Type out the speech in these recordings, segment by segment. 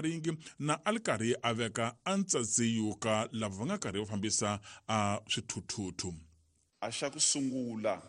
maringi na a li karhi a veka a ntsatsiyu ka lava va nga karhi va fambisa a swithuthuthu. A xa ku sungula,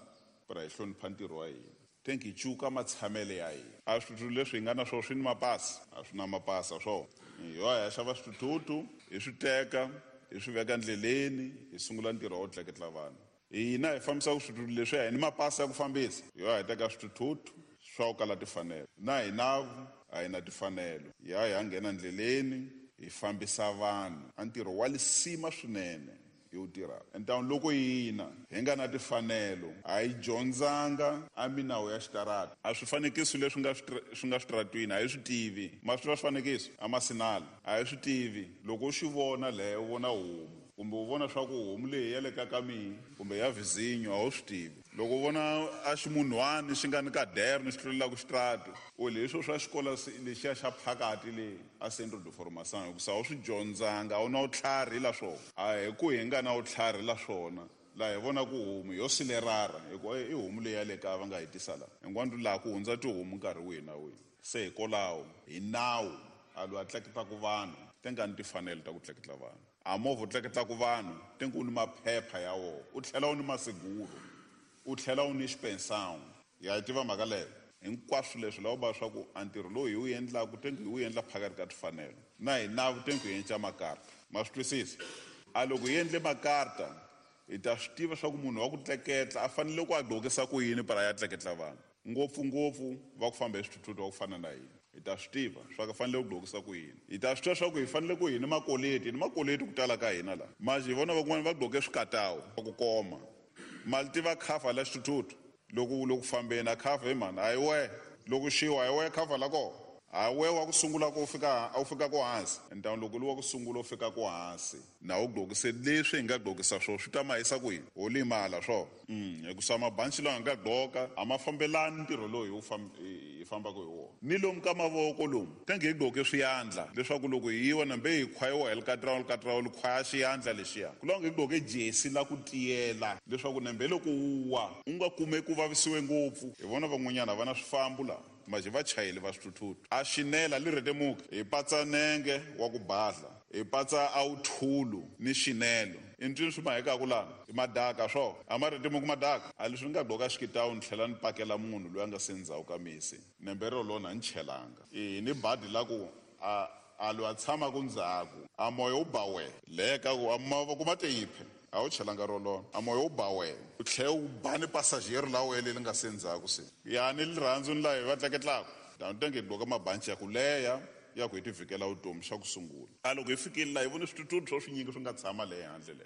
pra hi hlonipha ntirho wa hina, think hi cuka matshamele ya hina. A swithuthuthu leswi hi nga na swona swi ni mapasi? A swi na mapasi, a swona. Hi ya hi ya xava swithuthuthu, hi swi teka, hi swi veka ndleleni, hi sungula ntirho wa ku tleketla vanhu. Hina hi fambisaka swithuthuthu leswiya hi ni mapasi ya ku fambisa. Hi ya hi teka swithuthuthu swa ku kala tifanelo. Na hina a hi na tifanelo. Hi ya hi ya nghena ndleleni, hi fambisa vanhu. A ntirho wa lisima swinene hi wu tirhaka. Entamu loko hina hi nga na tifanelo, a hi dyondzanga a minawu ya xitarata. A swifanekiso leswi nga swi nga switaratwini a hi swi tivi. Ma swi tiva swifanekiso? A masinala. A hi swi tivi. Loko u xi vona le, u vona homu, kumbe u vona swa ku homu leyi ya le ka ka mihi, kumbe ya vizinyo, a wu swi tivi. Loko u vona a ximunhwani xi nga ni kaderno xi tlulelaka xitratu, u leswo swa xikolo lexiya xa phakati le a Centro de Formação, hikusa a wu swi dyondzanga, a wu na vutlhari la swona. A hi ku hi nga na vutlhari la swona, laha hi vona ku homu yo silerara, hi ku i homu leyi ya le kaya va nga yi tisa la. Hinkwanu laha ku hundza tihomu nkarhi wihi na wihi. Se hikolaho, hi nawu, a loyi a tleketlaku vanhu, te nga ni tifanelo ta ku tleketla vanhu. A movha u tleketlaku vanhu, te ku u ni maphepha ya wona, u tlhela u ni maseguro, u tlhela u ni xipensão. Ya yi tiva mhaka leyo? Hinkwaswo leswi lava va swa ku a ntirho lowu hi wu endlaku te ku hi wu endla phakati ka tifanelo. Na hina te ku hi endla makarta. Ma swi twisisa? A loko hi endle makarta, hi ta swi tiva swa ku munhu wa ku tleketla a fanele ku a gqokisa ku yini para ya tleketla vanhu. Ngopfungopfu va ku famba hi swithuthuthu va ku fana na hina. Hi ta swi tiva swa ku fanele ku gqokisa ku yini. Hi ta swi tiva swa ku hi fanele ku hi ni makoleti, hi ni makoleti ku tala ka hina la. Manje hi vona van'wana va gqoke swikatawu ku koma. Ma li tiva khafa la xithuthuthu? Loko u le ku fambeni, a khafa, he mhani, a hi wehe. Loko xiwa, a hi wehe khafa la kona. A hi wehe wa ku sungula ku fika, u fika ku hansi. Ntamu loko u li wa ku sungula u fika ku hansi, na u gqokise leswi hi nga gqokisa swona, swi ta ma yisa kwihi? Ho limala swona. Hikusa mabanci lawa hi nga gqoka a ma fambelani ntirho lowu hi wu hi fambaka hi wona. Ni lomu ka mavoko lomu, tenge hi gqoke swiyandla leswaku loko hi yiwa nambe hi khwayiwa hi likatrawu likatrawu li khwaya xiyandla lexiya. Ku lava hi gqoke jesi la ku tiyela leswaku nambe loko wu wa u nga kumeki u vavisiwe ngopfu. Hi vona van'wanyana a va na swifambo laha, majhe vachayeli va swithuthuthu. A xinela li rhetemuka, hi patsa nenge wa ku badla, hi patsa a wuthulu ni xinelo. I ncini swi mahekaku lana? I madaka swo? A ma rhetemuki madaka? A leswi ni nga gqoka xikitawu ni tlhela ni pakela munhu loyi a nga se ndzhaku ka misi. Nembe rolona a ni chelanga. I ni badi la ku a a loyi a tshamaka ndzhaku a moya wu ba wehe. Le ka ku a mavoko ma te yiphe a wu chelanga rolona. A moya wu ba wehe. U tlhela u ba ni passageiro la wehe leri nga se ndzhaku se. Ya ni lirhandzu ni laha hi va tleketlaka. Tano tenge hi gqoka mabanci ya ku leha ya ku hi tivhikela vutomi xa ku sungula. A loko hi fikile laha hi vone swithuthuthu swa swinyingi swi nga tshama le handle le.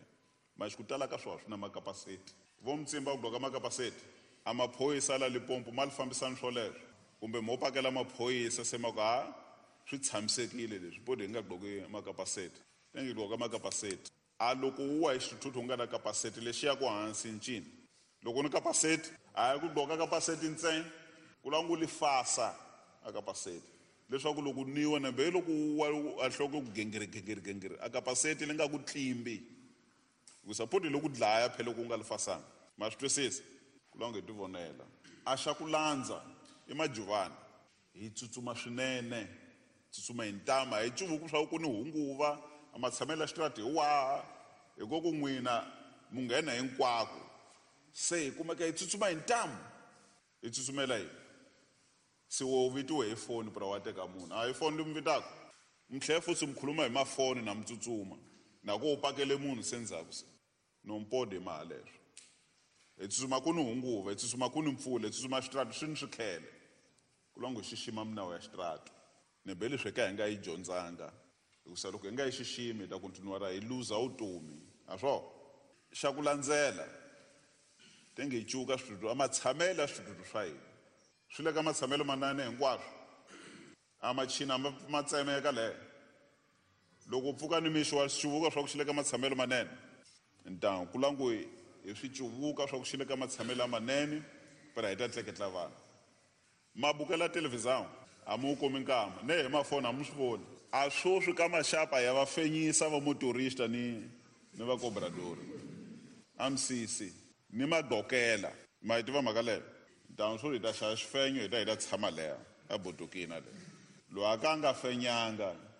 Manje ku tala ka swona swi na makapaseti. Vo Mtsimba ku gqoka makapaseti. A maphorisa la Limpopo ma li fambisani swoleswo. Kumbe mo pakela maphorisa se ma ku ha swi tshamisekile leswi bodi hi nga gqoki makapaseti. Ni ngi gqoka makapaseti. A loko u wa hi xithuthuthu u nga na kapaseti lexi ya ku hansi ncini. Loko ni kapaseti a hi ku gqoka kapaseti ntsena. Ku lava ngo li fasa a kapaseti. Leswaku loko niwa nambe loko u wa a nhloko ku gengiri gengiri gengiri a kapaseti li nga ku tlimbi. Hikusa poti loko dlaya phela loko u nga li fasanga. Ma swi twisisa? Ku lava hi tivonela. A xa ku landza i majuvani. Hi tsutsuma swinene. Tsutsuma hi ntama. Hi cuvuku swa ku ni hunguva. A matshamelo ya xitarata hi waha. Hi ko ku n'wina mu nghena hinkwako. Se hi kumeka hi tsutsuma hi ntamu. Hi tsutsumela yini? Se wo vitiwe hi foni pra wa teka munhu. A hi foni leyi mi vitaka? Mi tlhela futhi mi khuluma hi mafoni na mi tsutsuma. Na ku u pakele munhu se ndzhaku se. No mpode maha leswo. Hi tsutsuma ku ni hunguva, hi tsutsuma ku ni mpfula, hi tsutsuma xitratu swi ni swikhele. Ku lava ngo xixima minawu ya xitratu. Ni be leswi ka hi nga yi dyondzanga. Hikusa loko hi nga yi xiximi hi ta kontinuara hi luza vutomi. A swo? Xa ku landzela, tenge hi cuka switutu, a matshamelo ya switutu swa hina. Swi le ka matshamelo manene hinkwaswo. A machina ma tsemeka le. Loko u pfuka nimixo wa swi cuvuka swa ku xi le ka matshamelo manene. Ntamu ku lava ngo hi swi cuvuka swa ku xi le ka matshamelo lamanene, phela hi ta tleketla vanhu. Ma bukela televhizão a mi wu kumi nkama, ne hi mafoni a mi swi voni. A swoswi ka maxapa ya va fenyisa va motorista ni ni va cobradori. A misisi ni magqokela. Ma yi tiva mhaka leyo? Ntamu swo hi ta xava xifenyo hi ta hi ta tshama leha a botokina le. Loyi a ka a nga fenyanga.